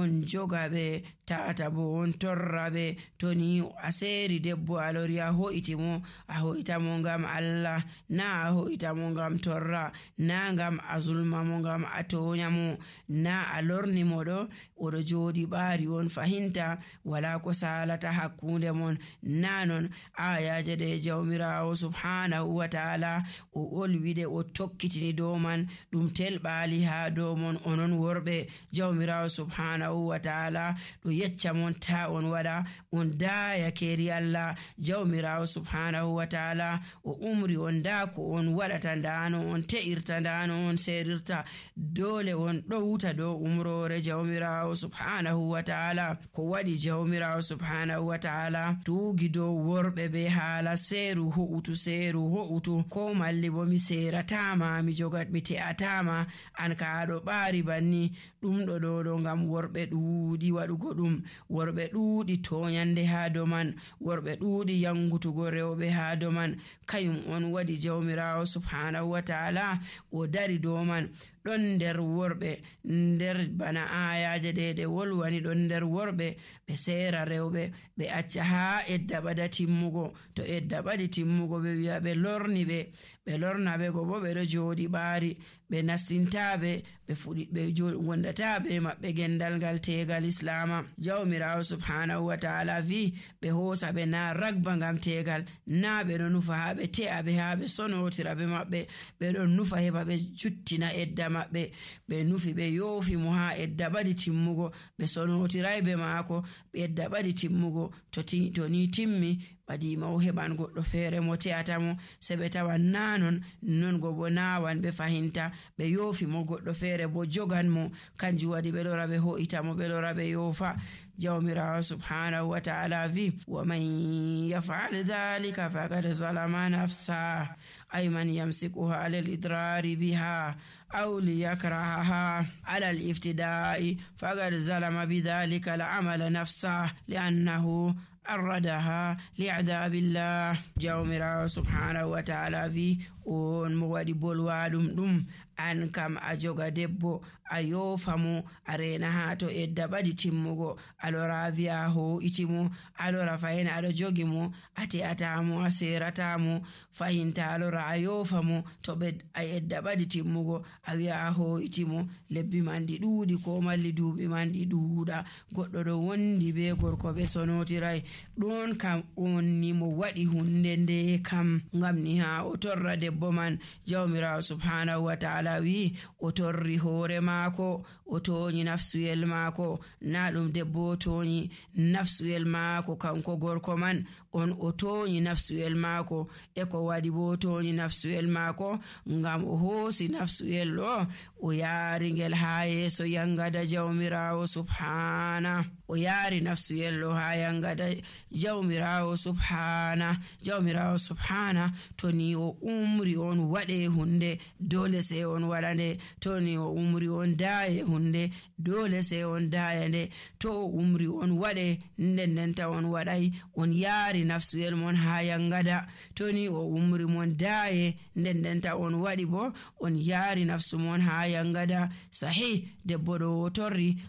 on joga ɓe, tata bo on torra ɓe. To ni a seeri debbo a lori a ho'iti mo, a ho'ita mo ngam Allah, na a ho'ita mo ngam torra, na ngam a zulma mo ngam a tonya mo, na a lorni mo ɗo oɗo joɗi ɓaari on fahinta wala ko salata hakkunde mon. Na non ayaje ɗe jawmirawo subhanahu wa ta'ala o olwide o tokkitini dow man, ɗum telɓali ha dow mon. Onon worɓe jawmirawo subhanahu wa ta'ala ɗo yecca mon ta on waɗa, on daya keri Allah. jawmirawo subhanahu wa ta'ala o umri on da ko on waɗata, ndano on te'irta, ndano on serirta. Dole on ɗowta dow umrore jawmirawo subhanahu wa ta'ala. Ko waɗi jawmirawo subhanahu wa ta'ala tuugi dow worɓe be haala seeru ho'utu ko malli bo mi seratama, mi jogat mi te'atama, an ka aɗo ɓaari banni. ɗum ɗo ngam worɓe ɗuuɗi waɗugo ɗum, worɓe ɗuuɗi toyande ha dow man, worɓe ɗuuɗi yangutugo rewɓe ha dow man. Kayum on waɗi jawmirawo subhanahu wa ta'ala o dari dow man. ɗon nder worɓe, nder bana ayaje ɗe wolwani, ɗon nder worɓe ɓe seera rewɓe ɓe acca ha edda ɓada timmugo. To edda ɓadi timmugo ɓe wi'a ɓe lorni ɓe lorna ɓe go bo ɓe ɗo joɗi ɓaari, ɓe nastintaɓe, ɓe fuɗi ɓe wondata ɓe maɓɓe gendal ngal tegal islama. jawmirawo subhanahu wa ta'ala vi ɓe hoosa ɓe na ragba ngam tegal, na ɓe ɗo nufa ha ɓe te'a ɓe ha ɓe sonotira ɓe maɓɓe, ɓe ɗon nufa heɓa ɓe juttina edda maɓɓe. ɓe nufi ɓe yoofi mo ha edda ɓadi timmugo, ɓe sonotiray be maako edda ɓadi timmugo. To ni timmi ɓadima o heɓan goɗɗo feere mo te'ata mo, se ɓe tawan non go bo nawan ɓe fahinta, ɓe yoofi mo goɗɗo feere bo jogan mo. Kanjum waɗi ɓe lora ɓe ho'ita mo, ɓe lora ɓe yoofa. jawmirawo subhanahu wa ta'ala vi wa man yaf'al dhalika faqad zalama nafsa, ay man yamsikuha ala al-idrari biha aw liyakrahaha ala al-iftida'i faqad zalama bidhalika al-amala nafsa li'annahu arradaha li'adabillah. jawmirawo subhanahu wa ta'ala vi on mo waɗi bolwaɗum ɗum, an kam a joga debbo a yoofa mo, a rena ha to edda ɓadi timmugo, a lora wi'a ho'iti mo, a lora fahin aɗo jogi mo, a te'ata mo, a serata mo, fahinta a lora a yoofa mo. To a edda ɓadi timmugo a wi'a a ho'iti mo, lebbi man ɗi ɗuuɗi ko malli duuɓi man ɗi ɗuuɗa, goɗɗo ɗo wondi be gorko ɓe sonotiray, ɗon kam on ni mo waɗi hunde nde kam ngam ni ha o torra debbo man. jawmirawo subhanahu wa ta'ala wi o torri hoore maako, o toñi nafsuyel maako, na ɗum debbo o toñi nafsuyel maako kanko gorko man, on o toñi nafsuyel maako. E ko waɗi bo toñi nafsuyel maako ngam o hoosi nafsuyel ɗo o yaari ngel ha yeeso yangada jawmirawo subhana, o yaari nafsuyel ɗo ha yangada jawmirawo subhana. To ni o umri on waɗe hunde dole se on waɗa nde, to ni o umri on daaye hunde dole se on daaya nde, to o umri on waɗe ndendenta on waɗay, on yaari nafsuyel mon ha yangada. to ni o umri mon daaye ndendenta on waɗi bo on yaari nafsu mon ha yangada. Sahih, debbo ɗo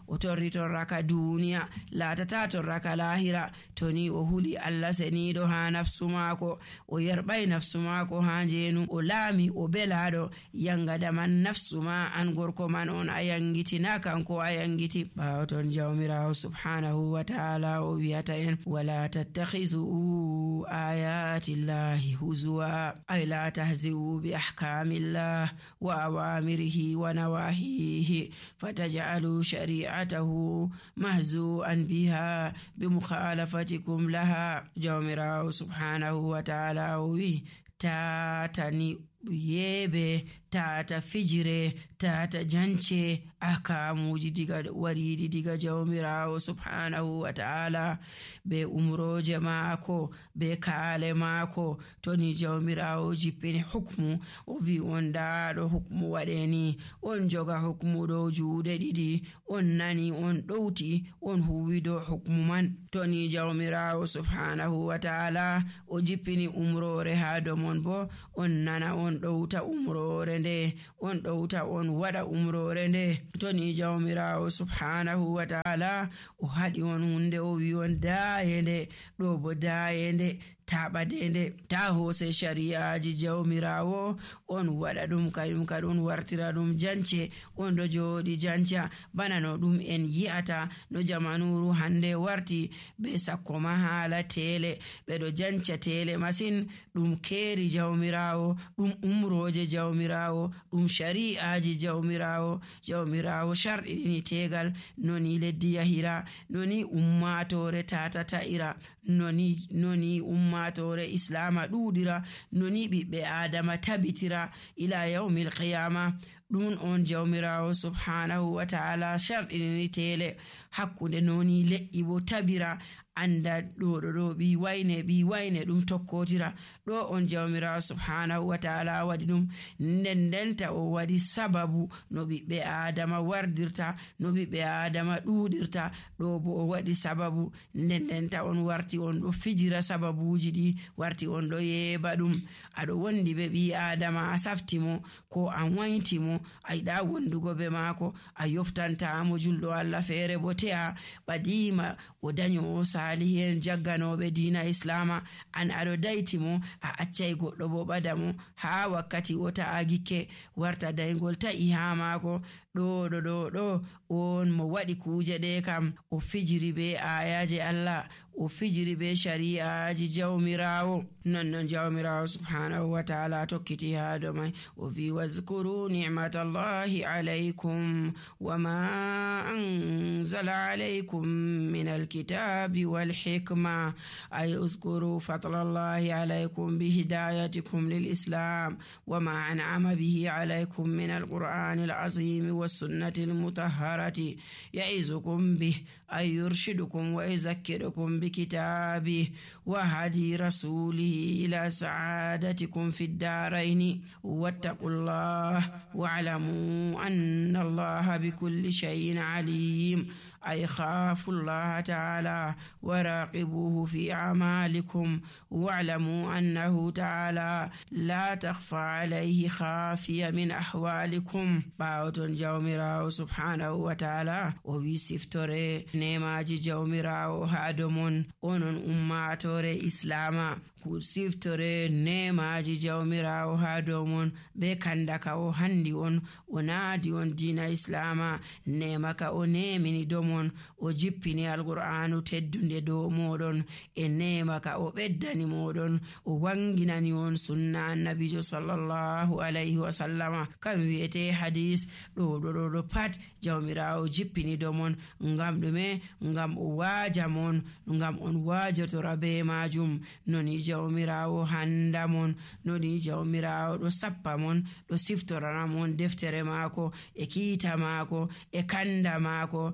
o torri torraka duniya, laatata torraka lahira. to ni o huli Allah seniɗo ha nafsu maako, o yerɓay nafsu maako ha njeenu, o laami o belaɗo yangada man nafsu ma an gorko man on a yangiti, na kanko a yangiti. ɓawo ton jawmirawo subhanahu wa ta'ala o wiyata en wala tattakhizu ayati llahi huzwa, ay la tahzi'u bi ahkamillah wa awamirihi wa nawahihi fataj'alu shari'atahu mahzu'an biha bi mukhalafatikum laha. jawmirawo subhanahu wa ta'ala o wi tatani yeebe, tata fijire, tata jance ahkamuji wariɗi diga jawmirawo subhanahu wa ta'ala be umroje maako be kaale maako. to ni jawmirawo jippini hukmu o wi on ndaɗo hukmu waɗeni, on joga hukmu ɗo juuɗe ɗiɗi, on nani, on ɗowti, on huwi dow hukmu man. to ni jawmirawo subhanahu wa ta'ala o jippini umrore ha domon bo on nana, on ɗowta umrore nde on ɗowta on waɗa umrore nde. To ni jawmirawo subhanahu wa ta'ala o haɗi on hunde o wi on dayende, ɗo bo dayende ta ɓadende, ta hose shari'aji jawmirawo on waɗa ɗum kayum kad on wartira ɗum jance, on ɗo joɗi janca bana no ɗum en yi'ata no jamanuru hande warti be sakko ma hala tele, ɓeɗo janca tele masin. ɗum keri jawmirawo, ɗum umroje jawmirawo, ɗum shari'aji jawmirawo. Jawmirawo sharɗiɗini tegal noni leddi yahira, noni ummatore tata ta'ira, noni ummatore islama ɗuɗira, noni ɓiɓɓe adama tabitira ila yawmil qiyama. ɗum on jawmirawo subhanahu wa ta'ala sharɗini tele hakkunde noni leƴƴi bo tabira, anda ɗo ɓi wayne ɗum tokkotira. ɗo on jawmirawo subhanahu wa ta'ala waɗi ɗum, ndendenta o waɗi sababu no ɓiɓɓe adama wardirta, no ɓiɓɓe adama ɗuɗirta. ɗo bo o waɗi sababu, ndendenta on warti on ɗo fijira sababuji ɗi, warti on ɗo yeɓa ɗum. aɗo wondi be ɓi adama, a saftimo ko a wayntimo, a yiɗa wondugo be maako, a yoftantamo julɗo Allah feere bo te'a ɓadima o daño salihen jagganoɓe dina islama, an aɗo daytimo a accay goɗɗo bo ɓadamo ha wakkati o ta'a gikke warta daygol ta'i ha maako. ɗo on mo waɗi kuje ɗe kam o fijiri be ayaje Allah, o fijiri be shari'aji jawmirawo. nonnon jawmirawo subhanahu wa ta'ala tokkiti ha do mai o vi wazkuru ni'matallahi alaykum wa ma anzala alaykum min alkitabi wal hikma, ay uzkuru fadlallahi alaykum bi hidayatikum lil islam wa ma an'ama bihi alaykum min alqur'anil azim was sunnatil mutahharati ya'izukum bih ay yurshidukum wa yuzakkirukum bi kitabihi wa hadi rasulihi ila sa'adatikum fid daraini wattaqullah wa'lamu anna allaha bikulli shay'in alim. أي خافوا الله تعالى وراقبوه في أعمالكم واعلموا أنه تعالى لا تخفى عليه خافية من أحوالكم. باوتون جومراو سبحانه وتعالى ويسفتوري نيماجي جومراو هادمون أونون أماتوري إسلاما siftore nemaji jawmirawo ha dow mon be kandaka o handi on o naadi on dina islama, nemaka o nemini dow mon, o jippini alqur'anu teddunde dow moɗon, e nemaka o ɓeddani moɗon, o wanginani on sunna annabijo sallallahu alayhi wa sallama kam wiyete hadis. ɗo pat jawmirawo jippini dow mon, ngam ɗume? ngam o waaja mon, ngam on waajotora be majum. noni jawmirawo handa mon, noni jawmirawo ɗo sappa mon, ɗo siftorana mon deftere maako e kiita maako e kanda maako,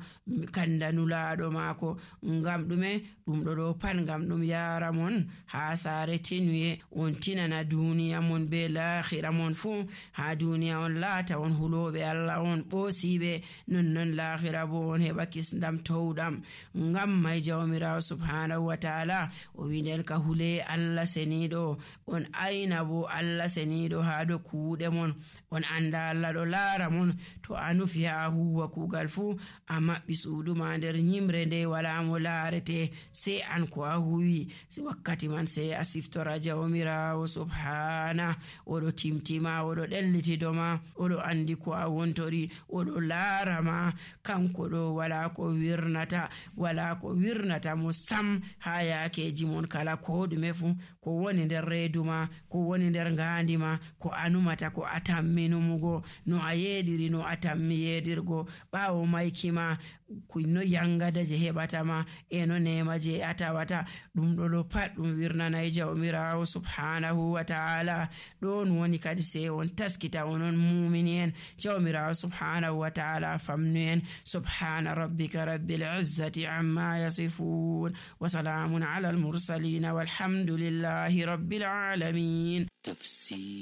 kanda nulaɗo maako. ngam ɗume? ɗum ɗo pat ngam ɗum yara mon ha sare tenuye, on tinana duniya mon be lahira mon fu. ha duniya on laata on huloɓe Allah, on ɓosiɓe, nonnon lahira bo on heɓa kisdam towɗam. ngam may jawmirawo subhanahu wa ta'ala o winden ka hule Allah seniɗo, on ayna bo Allah seniɗo ha do kuuɗe mon, on anda Allah ɗo laara mon. to a nufi ha huwa kugal fu a maɓɓi suuduma nder nyimre nde wala mo laarete sai an ko a huwi, si wakkati man sai a siftora jawmirawo subhana. oɗo timtima, oɗo ɗellitidoma, oɗo andi ko a wontori, oɗo laarama. kanko ɗo wala ko wirnata mo sam ha yakeji mon kala ko ɗume fu, ko woni nder reeduma, ko woni nder ngandima, ko anumata ko a tamminumugo, no a yeɗiri no a tammi yeɗirgo, ɓawo maykima no yangada je heɓatama e no nema je a tawata. ɗum ɗo pat ɗum wirnanai jawmirawo subhanahu wa ta'ala. ɗon woni kadi se on taskita onon mumini en, jawmirawo subhanahu wa ta'ala famnu en. subhana rabbika rabbil izzati amma yasifun wa salamun ala al mursalin walhamdulillahi rabbil alamin.